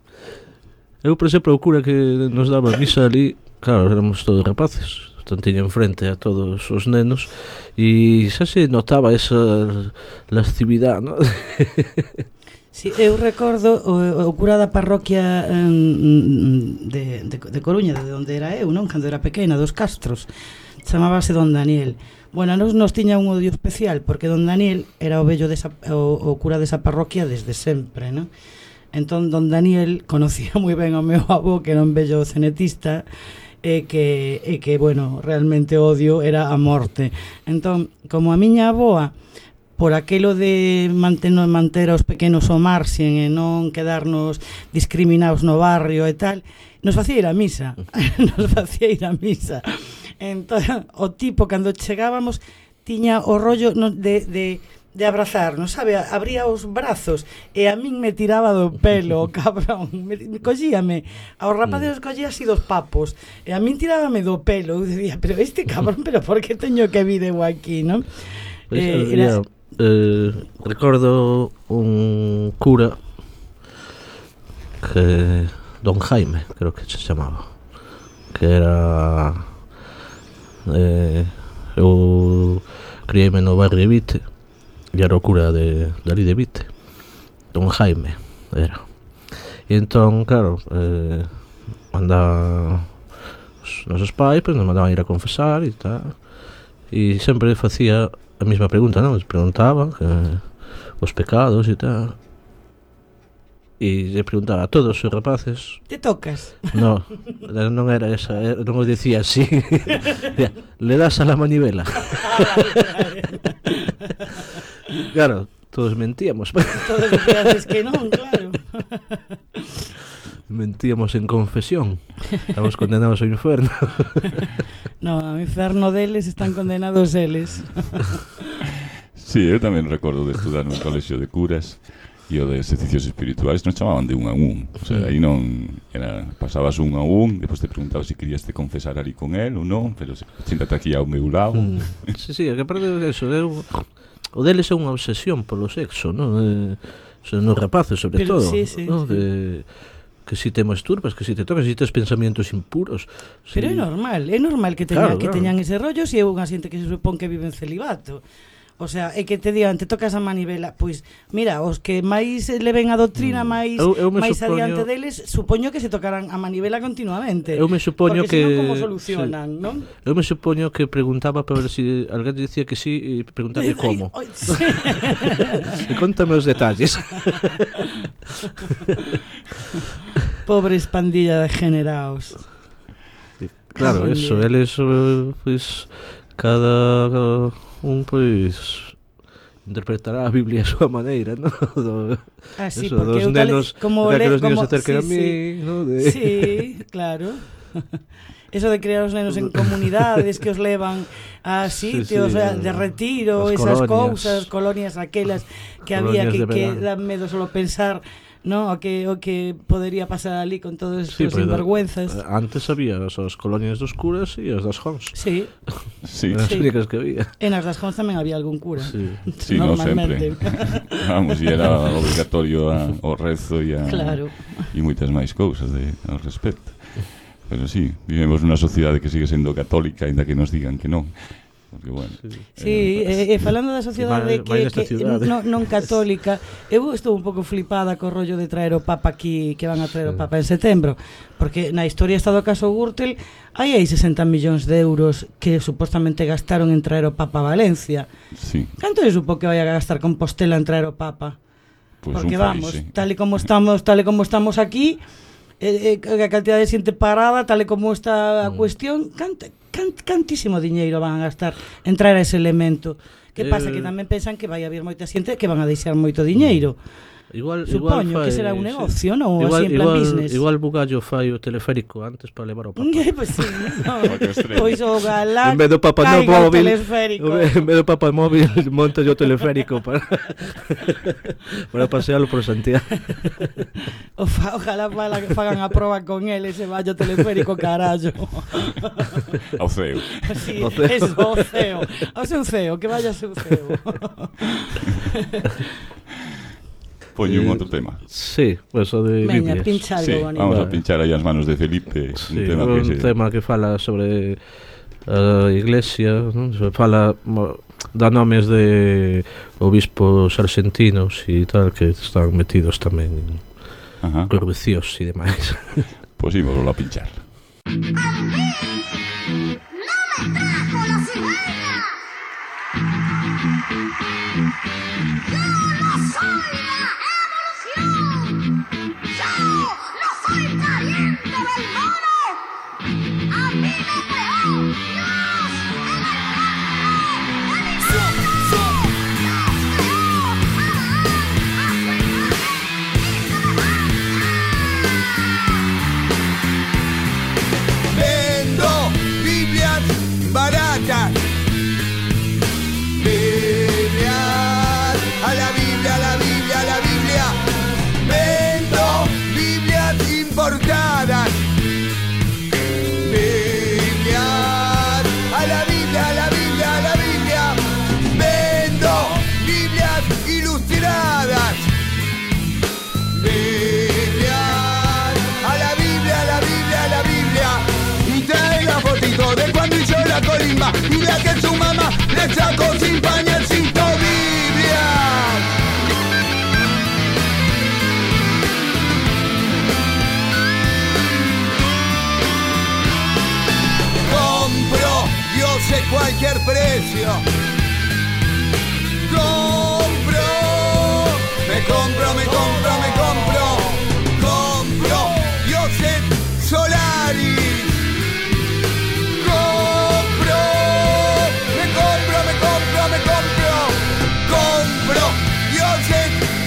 Eu, por exemplo, o cura que nos daba misa ali, claro, éramos todos rapaces, entón tiña enfrente a todos os nenos e xa se notaba esa lascividade, non? Sí, eu recordo o, o cura da parroquia um, de, de, de Coruña, de onde era eu, non? Cando era pequena, dos Castros, chamábase Don Daniel. Bueno, nos, nos tiña un odio especial, porque Don Daniel era o vello desa, o, o cura desa parroquia desde sempre, non? Entón, Don Daniel conocía moi ben ao meu avó, que era un vello cenetista, e que, e que, bueno, realmente odio era a morte. Entón, como a miña avoa, por aquelo de manter, manter aos pequenos ao marxen e non quedarnos discriminados no barrio e tal, nos facía ir a misa. Nos facía ir a misa. Entón, o tipo, cando chegábamos, tiña o rollo no, de... de de abrazarnos, sabe, abría os brazos e a min me tiraba do pelo, cabrón, me, me collíame, aos rapaces os collía así dos papos e a min tirábame do pelo. Eu dicía, pero este cabrón, pero por que teño que vir eu aquí, non? Pues, Eh, era... era... eh, recordo un cura que Don Jaime, creo que se chamaba, que era eh, eu criei-me no barrio de Vite e era o cura de, de ali de Vite, Don Jaime era. E entón, claro, eh, mandaba os nosos pais, pues, nos mandaban ir a confesar e tal, e sempre facía a mesma pregunta, non? Nos preguntaba que, os pecados e tal, e lle preguntaba a todos os rapaces. Te tocas? No, non era esa, era, non o dicía así. Le das a la manivela. Claro, todos mentíamos. Todos decías que non, claro. Mentíamos en confesión. Estamos condenados ao inferno. No, ao inferno deles están condenados eles. Sí, eu tamén recordo de estudar nun colexio de curas e o de exercicios espirituales nos chamaban de un a un. O sea, aí non era, pasabas un a un, depois te preguntabas se querías te confesar ali con él ou non, pero siéntate aquí ao meu lado. Mm. Sí, sí, que aparte de eso, eu, o deles é unha obsesión polo sexo, non? Eh, son os rapaces, sobre pero, todo, sí, sí, ¿no? Sí. De, que si te masturbas, que si te tocas, que si tes pensamientos impuros. Pero sí. é normal, é normal que teñan, Claro, que claro. teñan ese rollo se é unha xente que se supón que vive en celibato. O sea, é que te digan, te tocas a manivela, pois mira, os que máis leven a doutrina máis Eu- eu me máis supoño- adiante deles, supoño que se tocarán a manivela continuamente. Eu me supoño porque que... senón como solucionan, sí. non? Eu me supoño que preguntaba para ver si alguén dicía que sí e preguntarle como. Ai, sí. E contame os detalles. Pobres pandilla de generaos. Claro, Cago en eso, Dios. eles, eh, pois, cada un, pois, interpretará a Biblia a súa maneira, ¿no? Do, Ah, sí, eso, porque dos eu tal- nenos, como de que le- los niños como- se acerquen a sí, mí, sí. ¿no? De... Sí, claro. Eso de criar os nenos en comunidades que os levan a sitios sí, a- de retiro, as esas colonias. cousas, colonias aquelas que había Colonias que, de que verán. dan medo solo pensar, no, o que o que podería pasar ali con todos Sí, estos pero, sinvergüenzas. eh, antes había as, as colonias dos curas e as das Jons. Sí, Sí, Eran as Sí. únicas que había. en as das Jons tamén había algún cura. Sí. sí, no sempre. Vamos, e era obligatorio a, o rezo e a Claro. e moitas máis cousas de, ao respecto. Pero sí, vivemos nunha sociedade que sigue sendo católica, aínda que nos digan que non. Porque, bueno, Sí, e, e falando da sociedade que, que non, non católica, eu estou un pouco flipada co rollo de traer o Papa aquí, que van a traer o Papa en setembro, porque na historia está do caso Gürtel, hai aí sesenta millóns de euros que supostamente gastaron en traer o Papa a Valencia. Sí. Canto é supo que vai a gastar Compostela en traer o Papa? Pues porque un vamos, país, sí. tal e como estamos, tal e como estamos aquí, eh, eh, a cantidad de xente parada, tal e como está a mm. cuestión, canta, cant, cantísimo diñeiro van a gastar en traer a ese elemento. Que pasa? Eh... Que tamén pensan que vai haber moita xente que van a deixar moito diñeiro. Igual, Supoño igual fai, que será un negocio, sí. non? Igual, Así en plan igual, business. Igual Bugallo fai o teleférico antes para levar o Papa. Pois sí, no. Pois o galán en vez do Papa no caiga o móvil, teleférico. En vez do Papa móvil, monta yo o teleférico para para pasearlo por Santiago. O fa, ojalá fala, fagan a proba con él ese vallo teleférico, carallo. Ao ceo. Sí, eso, ao ceo. Ao seu ceo, que vaya seu ceo. Eh, Poño un outro tema. Sí, pues o de Veña, Biblias. pincha algo, Sí, bonito. vamos a pinchar aí as manos de Felipe. Sí, un tema un que se... tema que fala sobre a iglesia, non? Se fala, dá nomes de obispos argentinos e tal que están metidos tamén en corrupcións e demais. Pois pues ímoslo a pinchar. ¡No me trajo la cigüeña! ¡Yo no soy la evolución! ¡Yo no soy pariente del mono! ¡A mí me creó Dios en el vientre de mi madre! ¡Dios creó a su imagen y Vendo Biblias baratas. Biblias, a la Biblia, a la Biblia, a la Biblia. Vendo Biblias importadas. Biblias, a la Biblia, a la Biblia, a la Biblia. Vendo Biblias ilustradas. Biblias, a la Biblia, a la Biblia, a la Biblia. Y trae la fotito de cuando hizo la colimba y la que su mamá le sacó sin pañalcito. Biblia. Compro, yo sé cualquier precio. Compro, me compro, me compro, me compro. Compro, yo sé Solaris.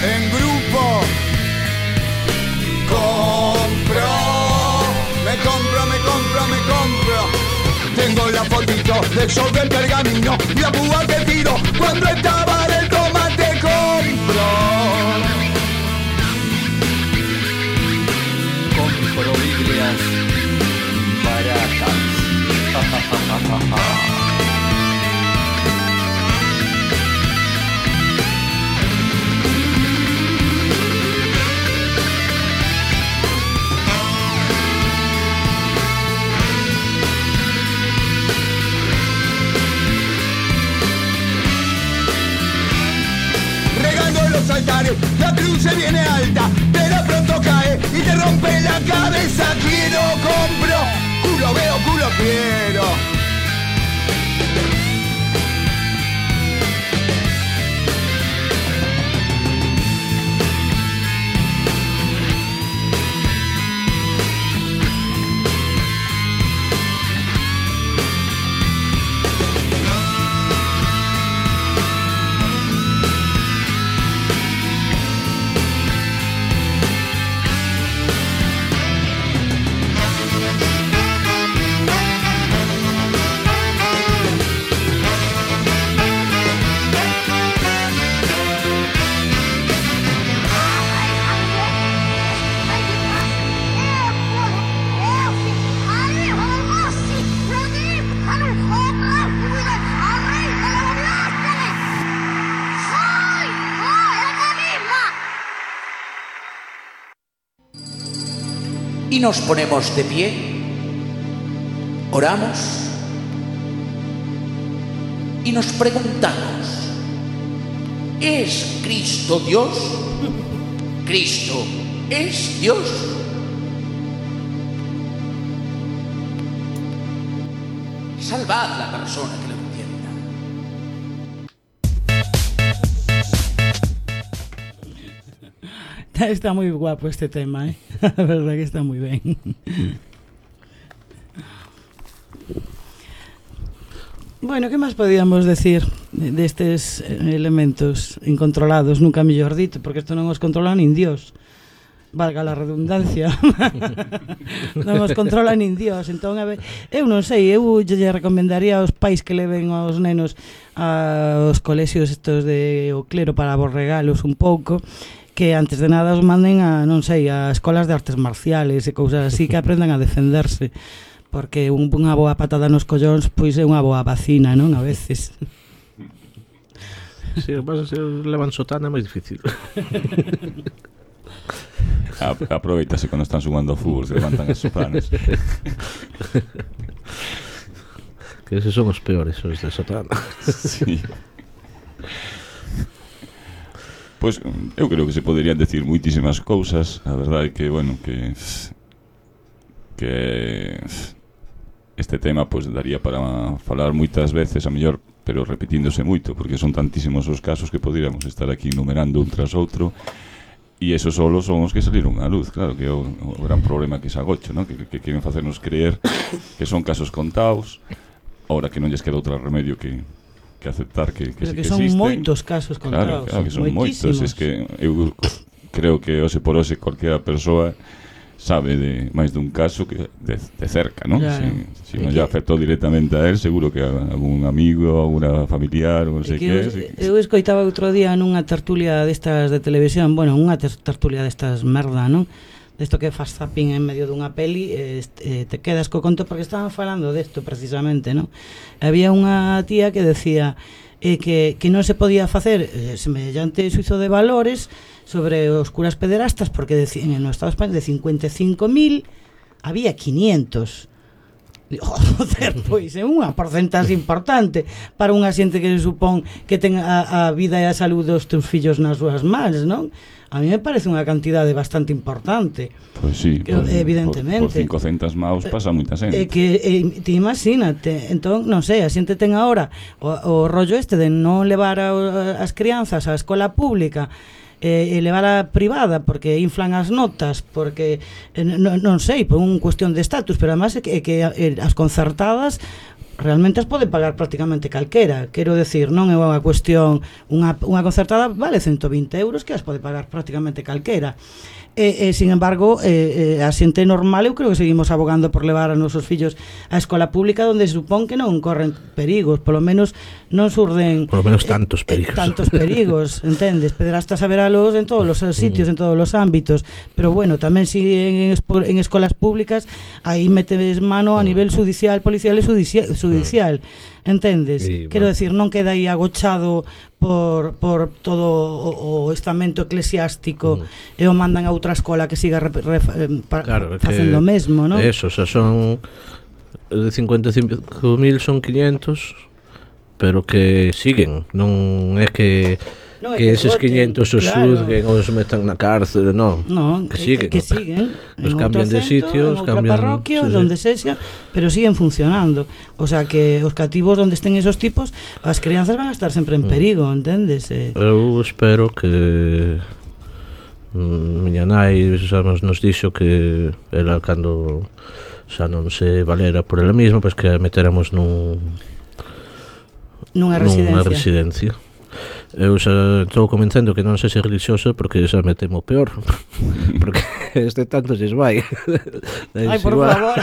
En grupo compro, me compro, me compro, me compro. Tengo la fotito del show del pergamino y la púa que tiro cuando estaba en el tomate. Compro, compro Biblias baratas. los altares, la cruz se viene alta, pero pronto cae y te rompe la cabeza. Quiero, compro, culo veo, culo quiero. Y nos ponemos de pie, oramos y nos preguntamos, ¿es Cristo Dios? ¿Cristo es Dios? Salvad la persona que lo entienda. Está muy guapo este tema, ¿eh? La verdad que está muy bien. Bueno, que máis podíamos decir destes elementos incontrolados, nunca mellor dito, porque isto non os controla nin Dios, valga la redundancia. Non os controla nin Dios. Entón, a ver, eu non sei, eu lle recomendaría aos pais que leven aos nenos aos colexios estos de o clero para aborregalos un pouco, que antes de nada os manden a, non sei, a escolas de artes marciales e cousas así, que aprendan a defenderse, porque un, unha boa patada nos collóns pois é unha boa vacina, non? A veces. Si, sí, vas a ser levan sotana é máis difícil. Aproveitase cando están xugando ao fútbol, se levantan as sotanas. Que eses son os peores, os de sotana. Sí. Pois eu creo que se poderían decir moitísimas cousas. A verdade é que, bueno, que que este tema pois daría para falar moitas veces, a mellor, pero repetíndose moito, porque son tantísimos os casos que poderíamos estar aquí numerando un tras outro, e esos solo son os que saliron á luz. Claro que é o, o gran problema que se agocho, ¿no? que, que queren facernos creer que son casos contados, ahora que non lles queda outro remedio que que aceptar que, que, sí que, que son existen. moitos casos contados, claro, claro, que son moitos. Es que eu creo que hoxe por hoxe cualquiera persoa sabe de máis dun caso que de, de cerca, ¿no? Claro. Si, si non lle afectou directamente a él, seguro que a algún amigo, alguna familiar, ou non sei que, que es. Eu escoitaba outro día nunha tertulia destas de televisión, bueno, unha tertulia destas merda, non? Desto que faz zapping en medio dunha peli, eh, te quedas co conto, porque estaban falando desto precisamente, non? Había unha tía que decía eh, que, que non se podía facer eh, semellante suizo de valores sobre os curas pederastas, porque de, en o Estado español de cincuenta e cinco mil había quinientos. Joder, pois é unha porcentaxe importante para unha xente que se supón que ten a, a vida e a saúde dos teus fillos nas súas mans, non? A mí me parece unha cantidade bastante importante. Pois sí, que, por, evidentemente. Por, por cincocentos maus pasa moita xente. Eh, que eh, te imagínate, entón, non sei, a xente ten agora o, o rollo este de non levar a, a, as crianzas á escola pública e eh, levar a privada porque inflan as notas, porque eh, non, non sei, por unha cuestión de estatus, pero además é que, é que eh, as concertadas realmente as pode pagar prácticamente calquera. Quero decir, non é unha cuestión, unha, unha concertada vale ciento vinte euros que as pode pagar prácticamente calquera. E, e sin embargo, eh, eh, a xente normal, eu creo que seguimos abogando por levar a nosos fillos á escola pública, onde se supón que non corren perigos, polo menos non surden polo menos tantos perigos, eh, tantos perigos, entendes? Pederastas a veralos en todos os sitios, en todos os ámbitos, pero bueno, tamén si en, en escolas públicas aí metes mano a nivel judicial, policial e judicial, judicial. Entendes? Sí, quero bueno. decir, non queda aí agochado por, por todo o, o estamento eclesiástico mm. e o mandan a outra escola que siga re, re, pa, claro, facendo o mesmo, non? Eso, o sea, son de cincuenta e cinco mil son quinientos, pero que siguen, non é que no, que eses quinientos os claro. Xuzguen ou os metan na cárcel, non, no, que siguen, que, que siguen os cambian de sitio, os cambian de parroquia, sí, donde sí. sexa, pero siguen funcionando. O sea que os cativos donde estén esos tipos, as crianzas van a estar sempre en perigo, entendes? Eh. Eu espero que mm, miña nai xa nos, nos dixo que ela cando xa non se valera por ela mesma, pois pues que a meteramos nun nunha residencia. Nunha residencia. Eu xa estou comentando que non sei se religioso porque xa me temo peor porque este tanto se vai. Ai, por favor.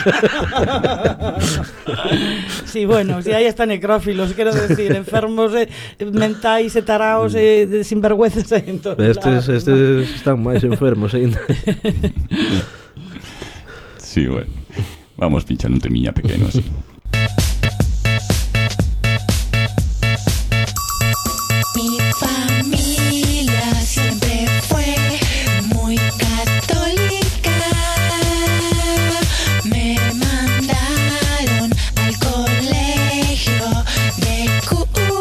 Sí, bueno, si aí están necrófilos, quero decir, enfermos eh, mentais e taraos e eh, sinvergüenzas aí en todos estes, estes están máis enfermos ainda. Sí, bueno, vamos pinchando un temiña pequeno así. Mi familia siempre fue muy católica. Me mandaron al colegio de cura.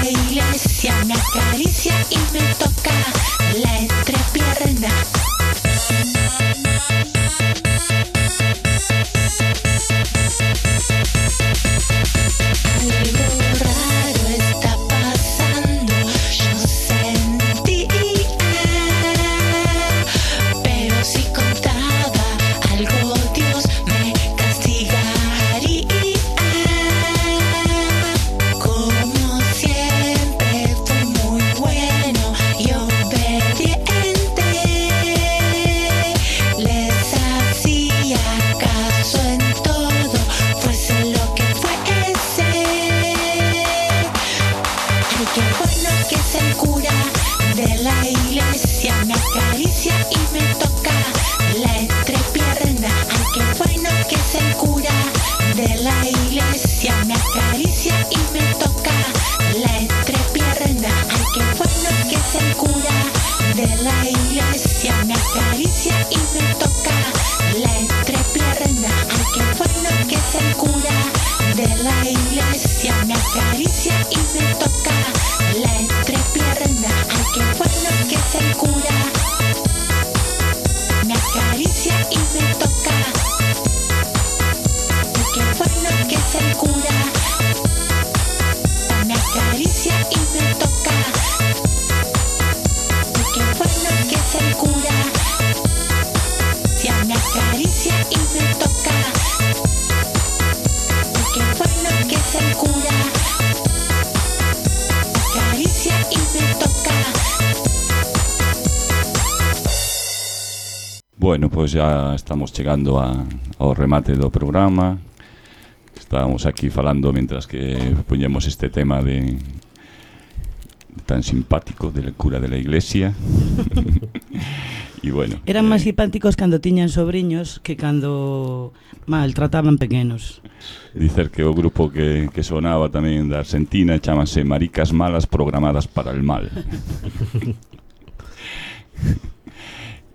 la iglesia me acaricia y me toca la entrepierna. Algo raro está pasando, yo sentí, pero si contaba algo Dios me castigaría. Como siempre fue muy bueno y obediente, les hacía caso en todo, fuese lo que fuese. Ay, qué bueno que es el cura de la iglesia, me acaricia y me toca la entrepierna. Ay, qué bueno que es el cura de la iglesia, me acaricia y me toca la entrepierna. Ay, qué bueno que es el cura de la iglesia, me acaricia y me toca la entrepierna. Ay, qué bueno que es el cura de la iglesia, me acaricia y me toca la entrepierna. Ay, qué bueno que es el cura, me acaricia y me toca. Ay, qué bueno que es el cura, me acaricia y me toca. Ay, qué bueno que es el cura, me acaricia y me toca. Ay, qué bueno que es el cura, me acaricia y me toca. Bueno, pois ya estamos chegando a, ao remate do programa. Estábamos aquí falando mentras que poñemos este tema de tan simpático del cura de la iglesia. E bueno, eran eh, máis simpáticos cando tiñan sobriños que cando maltrataban pequenos. Dicer que o grupo que, que sonaba tamén da Argentina chámase Maricas Malas Programadas para el Mal.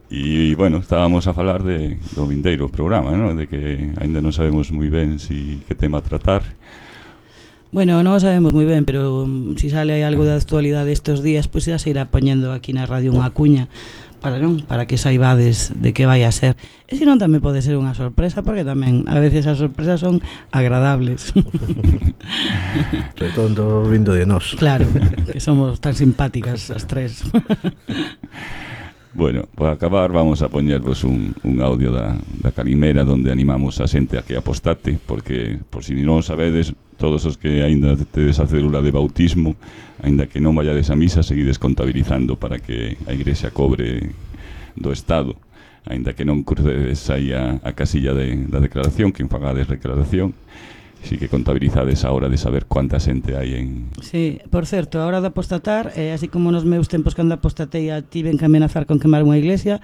E, bueno, estábamos a falar de, do vindeiro programa, ¿no? De que ainda non sabemos moi ben si que tema tratar. Bueno, non o sabemos moi ben, pero um, si sale algo de actualidade estes días, pois pues, xa se irá poñendo aquí na radio unha cuña para non, para que saibades de que vai a ser. E se non tamén pode ser unha sorpresa, porque tamén a veces as sorpresas son agradables. Redondo vindo de nós. Claro, que somos tan simpáticas as tres. Bueno, para acabar vamos a poñervos un, un audio da, da Calimera donde animamos a xente a que apostate, porque, por si non sabedes, todos os que aínda tedes a célula de bautismo, aínda que non vayades a misa, seguides contabilizando para que a igrexa cobre do Estado, aínda que non crucedes aí a, a casilla de, da declaración, que enfagades declaración, si que contabilizades a hora de saber cuánta xente hai en... Sí, por certo, a hora de apostatar, eh, así como nos meus tempos cando apostatei a tiven que amenazar con quemar unha iglesia,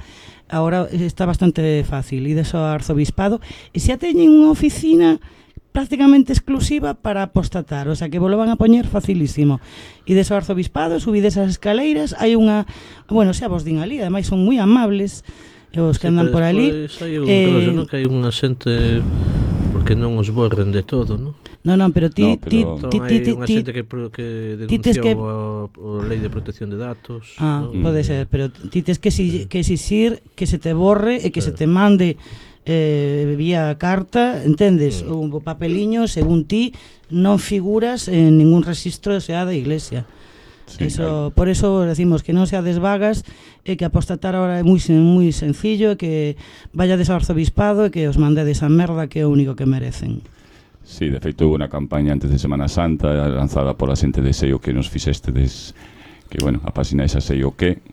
agora está bastante fácil, ides ao arzobispado e xa teñen unha oficina prácticamente exclusiva para apostatar, o sea que vos lo van a poñer facilísimo. Ides ao arzobispado, subides as escaleiras, hai unha, bueno, xa vos din ali, ademais son moi amables os que sí, andan por ali. Hai un eh, no, que hai unha xente porque non os borren de todo, non? Non, non, pero ti... No, pero ti, ti, ti, hai unha xente que, que denunciou que... a, a lei de protección de datos. Ah, ¿no? Pode ser, pero ti tes que, si, que exixir que se te borre e que claro. Se te mande eh, vía carta, entendes? Mm. Un papeliño, según ti, non figuras en ningún registro sea da iglesia. Sí, eso, claro. Por eso decimos que non seades vagas e que apostatar ahora é moi, moi sencillo e que vayades ao arzobispado e que os mandedes a merda que é o único que merecen. Sí, de feito hubo unha campaña antes de Semana Santa lanzada por a xente de Sei o que nos fixestedes, que bueno, a página esa Sei o que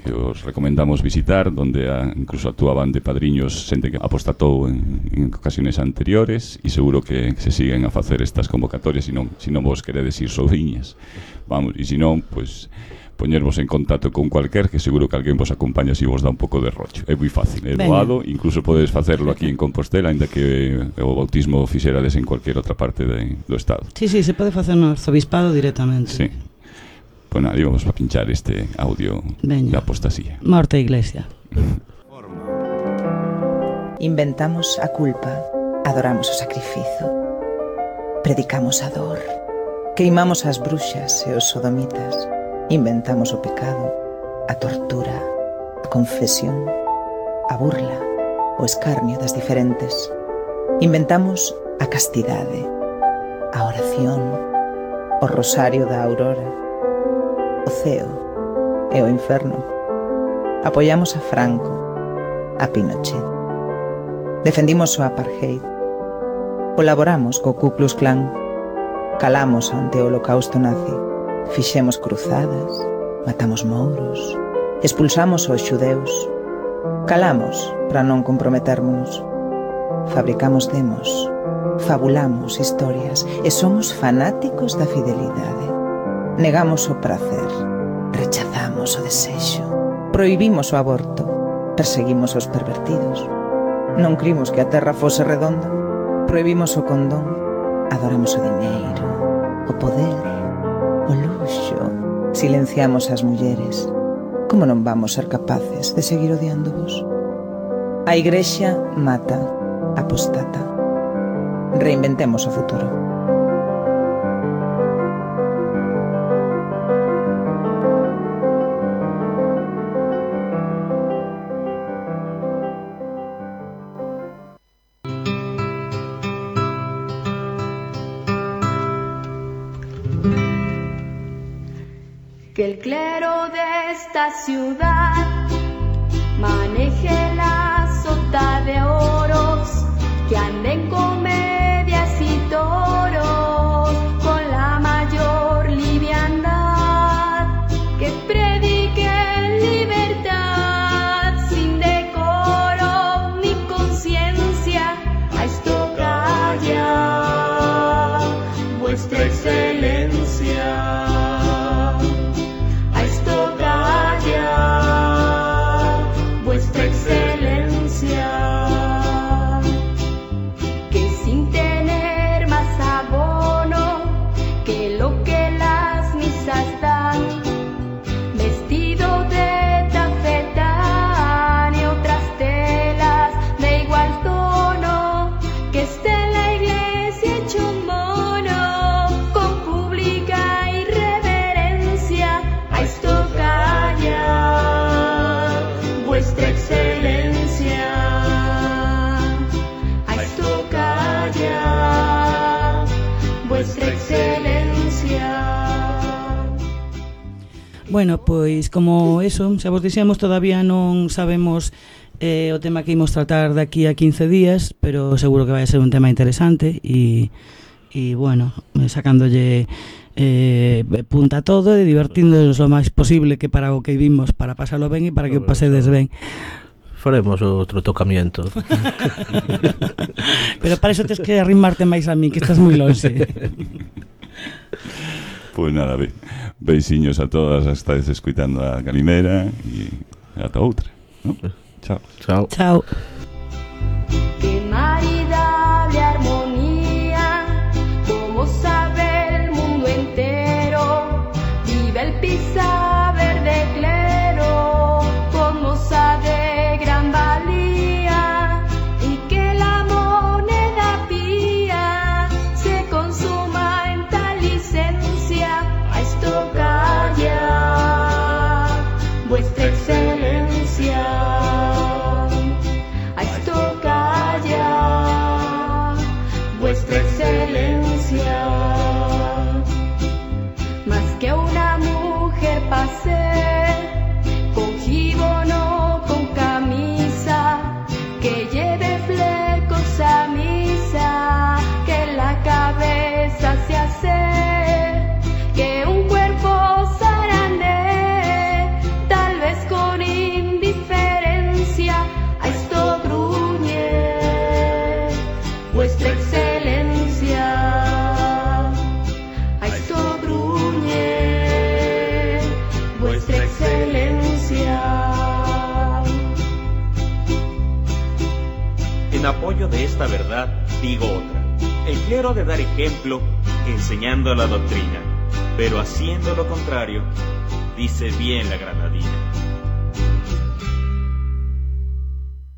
que os recomendamos visitar, donde a, incluso actuaban de padriños xente que apostatou en, en ocasiones anteriores e seguro que se siguen a facer estas convocatorias, se non, se non vos queredes ir soviñas, vamos, e se non, pois poñervos en contacto con cualquier, que seguro que alguén vos acompaña se vos dá un pouco de rocho. É moi fácil, é doado, incluso podes facerlo aquí en Compostela, ainda que o bautismo fixerades en cualquier outra parte de, do estado. Sí, sí, se pode facer no arzobispado directamente. Sí. Bueno, aí vamos a pinchar este audio de apostasía. Morte iglesia. Inventamos a culpa, adoramos o sacrificio, predicamos a dor, Queimamos as bruxas e os sodomitas. Inventamos o pecado, a tortura, a confesión, a burla, o escarnio das diferentes. Inventamos a castidade, a oración, o rosario da aurora, o ceo e o inferno. Apoiamos a Franco, a Pinochet. Defendimos o apartheid. Colaboramos co Ku Klux Klan. Calamos ante o holocausto nazi. Fixemos cruzadas, matamos mouros, expulsamos os xudeus. Calamos para non comprometérmonos. Fabricamos demos, fabulamos historias e somos fanáticos da fidelidade. Negamos o prazer, rechazamos o desexo. Prohibimos o aborto, perseguimos os pervertidos. Non crimos que a terra fose redonda. Prohibimos o condón, adoramos o diñeiro, o poder, o luxo. Silenciamos as mulleres. Como non vamos ser capaces de seguir odiándovos? A Igrexa mata, apostata. Reinventemos o futuro. Que el clero de esta ciudad maneje la sota de oros, que anden comedias y toros con la mayor liviandad, que prediquen libertad sin decoro ni conciencia. A esto calla vuestra excelencia. Bueno, pois como eso, xa vos dixemos, todavía non sabemos eh, o tema que imos tratar daqui a quince días, pero seguro que vai ser un tema interesante e, e bueno, sacándolle eh, punta a todo e divertíndonos o máis posible, que para o que vimos, para pasarlo ben e para que o pasedes ben. Faremos outro tocamiento. Pero para iso tens que arrimarte máis a mí, que estás moi longe. Pois nada, be, beisiños a todas, estáis escuitando a Calimera e ata outra, ¿no? Chao. Chao. Chao. Qué maridable armonía, como sabe el mundo entero, vive el pisa verde clero, como sabe gran valía, y que la moneda pía se consuma en tal licencia. A esto calla vuestra excelencia. A esto calla vuestra excelencia. Más que una mujer pase con jíbono, con camisa, que lleve flecos a misa, que la cabeza se hace, que un cuerpo zarandee, tal vez con indiferencia. A esto gruñe vuestra excelencia. A esto gruñe vuestra excelencia. En apoyo de esta verdad, digo otra. El clero ha de dar ejemplo enseñando la doctrina, pero haciendo lo contrario, dice bien la granadina.